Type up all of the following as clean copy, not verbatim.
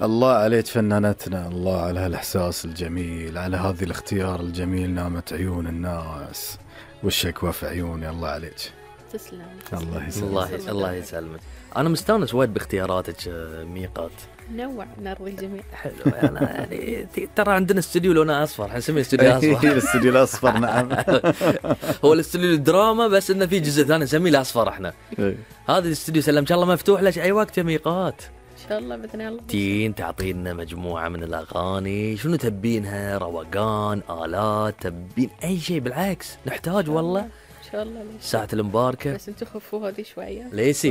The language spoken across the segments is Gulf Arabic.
الله عليك فنانتنا، الله على هالإحساس الجميل، على هذه الاختيار الجميل. نامت عيون الناس والشكوى في عيوني. الله عليك. تسلم. الله يسلمك. الله يسلمك. أنا مستانس وايد باختياراتك ميقات. نوع نرضي الجميع. حلو. يعني ترى عندنا استوديو لونه أصفر، حنسميه استوديو أصفر. الاستوديو الأصفر. نعم. هو الاستوديو الدراما، بس إنه في جزء ثاني نسميه الأصفر إحنا. هذا الاستوديو سلم إن شاء الله مفتوح لك أي وقت يا ميقات. إن شاء الله بإذن الله. تين تعطينا مجموعة من الأغاني، شنو تبينها؟ روقان، آلات، تبين أي شيء؟ بالعكس نحتاج والله. إن شاء الله. ساعة المباركة. بس أنتوا خفوا هذه شوية. ليسي.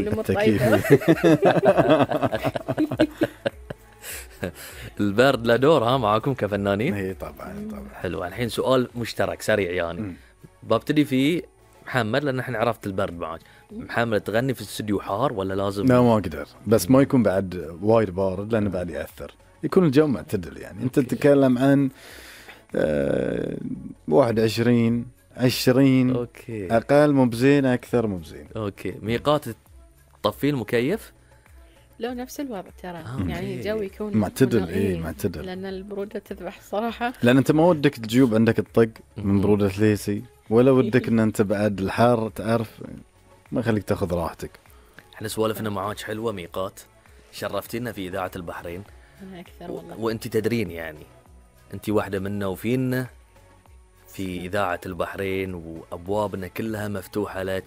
البرد له دور ها معاكم كفنانين؟ اي طبعا. حلو. الحين سؤال مشترك سريع يعني. ببتدي فيه محمد، لأن احنا عرفت البرد معك. محمد، تغني في الاستوديو حار ولا لازم؟ لا ما أقدر، بس ما يكون بعد وايد بارد لأنه بعد يأثر. يكون الجو معتدل يعني. أنت تتكلم عن 21 20. أوكي. أقل مو بزين، أكثر مو بزين. أوكي. ميقات تطفي المكيف؟ لو نفس الوضع ترى. يعني الجو يكون معتدل. معتدل. لأن البرودة تذبح صراحة. لأن أنت ما ودك الجيوب عندك الطق من برودة ليسي، ولا ودك إن أنت بعد الحار تعرف، ما خليك تأخذ راحتك. احنا سوالفنا معاك حلوة ميقات، شرفتينا في إذاعة البحرين. أنا أكثر والله. وأنت تدرين يعني أنت واحدة منا وفينا في إذاعة البحرين، وأبوابنا كلها مفتوحة لك.